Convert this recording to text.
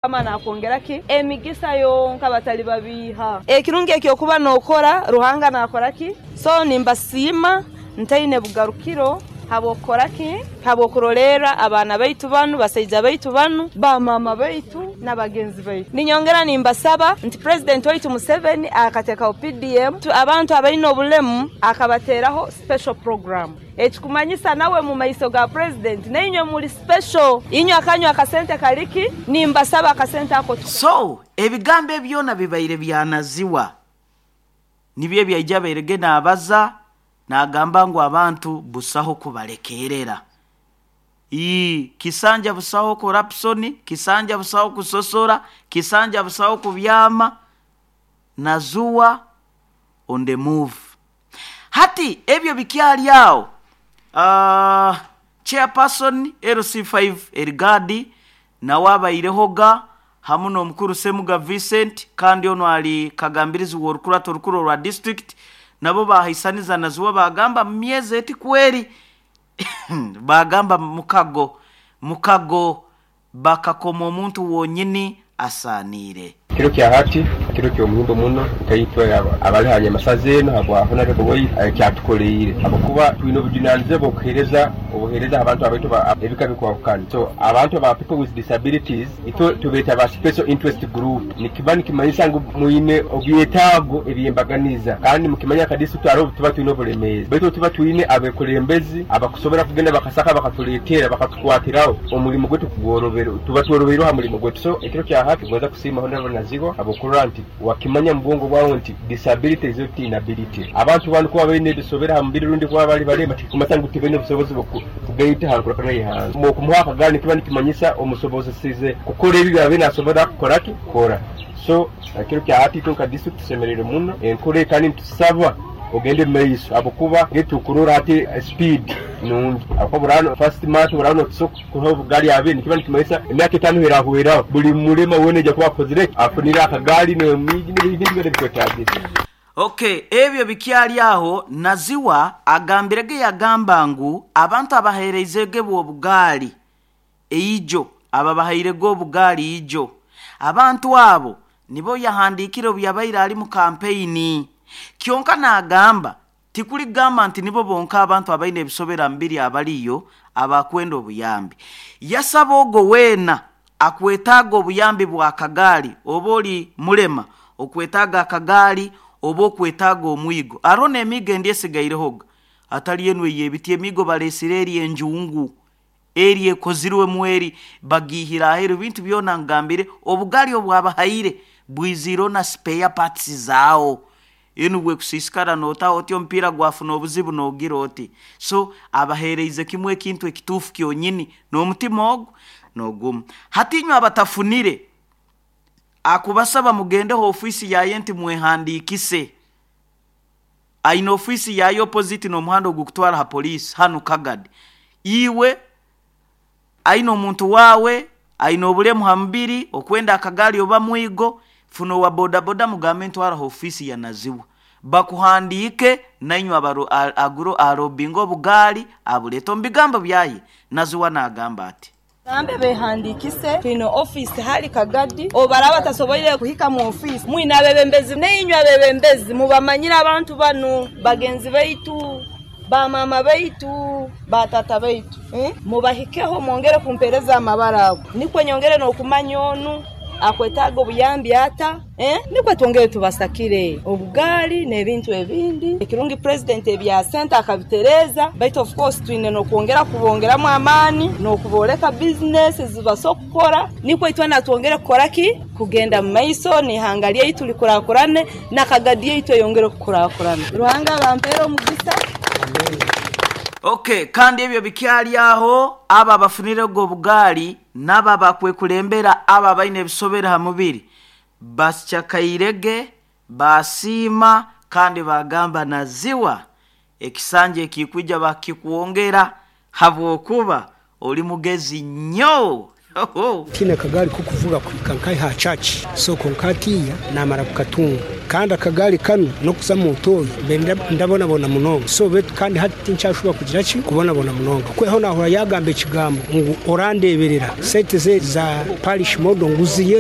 Mukama nakwongera ki? Emigisa yonka batalibabiiha. Ekirungi eky'okuba nookora, Ruhanga naakora ki? So nimbasiima ntaine bugarukiro habw'okukora ki? Habw'okurolerra abaana baitu banu, basaija baitu banu, bamaama baitu n'abagenzi baitu. Ninyongera nimbasaba nti Purezidenti waitu Museveni akateekaho PDM, abantu abaine obulemu akabateeraho special program. Ekikumanyisa nawe mu maiso ga Purezidenti nainywe muri special. Inywe akanywe akasente kali ki? Nimbasaba akasente ako tuka. So ebigambo ebi byona bibaire bya Naziwa nibyo ebi aija abairege naabaza naagamba ngu abantu busaho kubalekeerera. Ii, Kisanja busaho korapusoni, Kisanja busaho kusosora, Kisanja busaho kubyama, Nazuwa on the move. Hati ebyo bikyali agho, Chairperson LC5 Erigadi nawe abairehoga hamu n'omukuru Ssemuga Vincent kandi onu ali kagambirizi w'orukurato orukuru orwa district nabo bahaisaniza Naziwa baagamba mu myezi eti kweri baagamba mukago mukago bakakoma omuntu wonyini asaaniire. Ekiro kya hati kiro ky'omuhimbo muno nkaitwe abali ha nyamasaza enu habwa Honarebo waitu eki atukoleire habwokuba twine obujunanizibwa bw'okuhereza obuhereza ha bantu abaitu ebika bikwahukana. So abantu aba people with disabilities itwe tubeeta ba special interest group nikiba nikimanyisa ngu mwine obyetaago eby'embaganiza kandi mukimanya nka district haroho obutuba twine obulemeezi baitu obutuba twine abekulembezi abakusobora kugenda bakasaka bakatuleetera bakatukwatiraho omulimo gwaitu kugworobera tuba tworobeirwe ha mulimo gwaitu. So ekiro kya hati ngonza kusiima Honourable Nazigwa habw'okurora nti wakimanya mu bwongo bwawe nti disability is not inability. Abantu banu kuba baine ebisobere ha mubiri rundi kuba bali balema tikikumanyisa ngu tibaine busobozi bw'okugaita ha nkurakurana y'ihanga. Okumuha akagaari nikiba nikimanyisa omusobozesize kukora ebi ebyabaire nasobora kukora ki? Kukora. So ekiro kya hati itwe nka district tusemereirwe muno enkora egi kandi nitusaba ogende omu maiso habwokuba nitukurora hati speed nungi habwokuba burano first month buraba notusoka kuha obugaali abiri nikiba nikimanyisa emyaka etano erahweraho buli mulema wena aija kuba akozire ki? Afunire akagaali n'emiigi n'ebintu byona ebikwetagisa. Ok, ebyo bikyali agho, Naziwa agambirege yagamba ngu abantu abaheereizege bwo obugaali eijo, ababahairege obugaali ijo, abantu abo nibo yahandiikire obu yabaire ali mu kampeyini. Kyonka naagamba Tikuli kugamba nti nibo bonka abantu abaine ebisobera mubiri abaliyo abakwenda obuyambi. Yasaba ogwo weena akwetaaga obuyambi bwa kagaali oba oli mulema okwetaaga akagaali oba okwetaaga omwigo. Haroho n'emiigo endi esigairehoga atali enu ey'ebiti, emiigo baleesire eri enjungu, eri ekozirwemu eri bagiihire aheeru. Ebintu byona ngambire, obugaali obwabahaire bwiziireho na spare parts zaawo. Enu bwekusiisikara nootaho oti omupiira gwafuna obuzibu noogira oti. So abaheereize kimu ekintu ekituufu kyonyini n'omutima ogu n'ogumu. Hati inywe abatafunire, akubasaba mugendeho ofiisi yaye nti mwehandiikise. Aine ofiisi yaye opposite n'omuhanda ogukutwara ha poliisi hanu Kagadi. Iwe aine omuntu waawe aine obulemu ha mubiri, okwenda akagaali oba mwigo, funa owa bodaboda mugambe ntwara ha ofiisi ya Naziwa bakuhandiike nainywe agure arobinge obugaali abuleete. Omu bigambo byaye, Naziwa naagamba ati. Gambe behandiikise, twine ofiisi hali Kagadi, obu baraaba batasoboire kuhika mu ofiisi, mwine abebembezi nainywe abebembezi mubamanyire abantu banu, bagenzi baitu, bamaama baitu, bataata baitu. Mubahikeho mwongere kumpeereza amabara ago, nikwo nyongere n'okumanya onu akwetaaga obuyambi ata, nikwo twongere tubasakire obugaali n'ebintu ebindi. Ekirungi Purezidenti ebya sente akabitereeza, baitu of course twine n'okwongera kubongeramu amaani n'okubooleka bizinesi ezi basobora kukora, nikwo itwena twongere kukora ki? Kugenda mu maiso n'ihanga lyaitu likurakurane na Kagadi yaitu eyongere kukurakurana. Ruhanga abampeere omugisa. Ok, kandi ebyo bikyali agho, abo abafunirege obugaali n'abo abakwekulembera abo abaine ebisobere ha mubiri basyakairege, baasiima kandi baagamba Naziwa ekisanja ekikwija bakikwongera habwokuba oli mugezi nnyo. Tihaine kagaari k'okuvuga kuhika nkahi aha church so kwonka hatiiya naamara kukatunga. Kandi akagaali kanu n'okuza mu ntoyi mbe ndabonabona munonga. So beitu kandi hati tinkyashuba kugira ki kubonabona munonga. Kweho nahura yagamba ekigambo ngu orandeberera sente ze za parish model ngu ziye.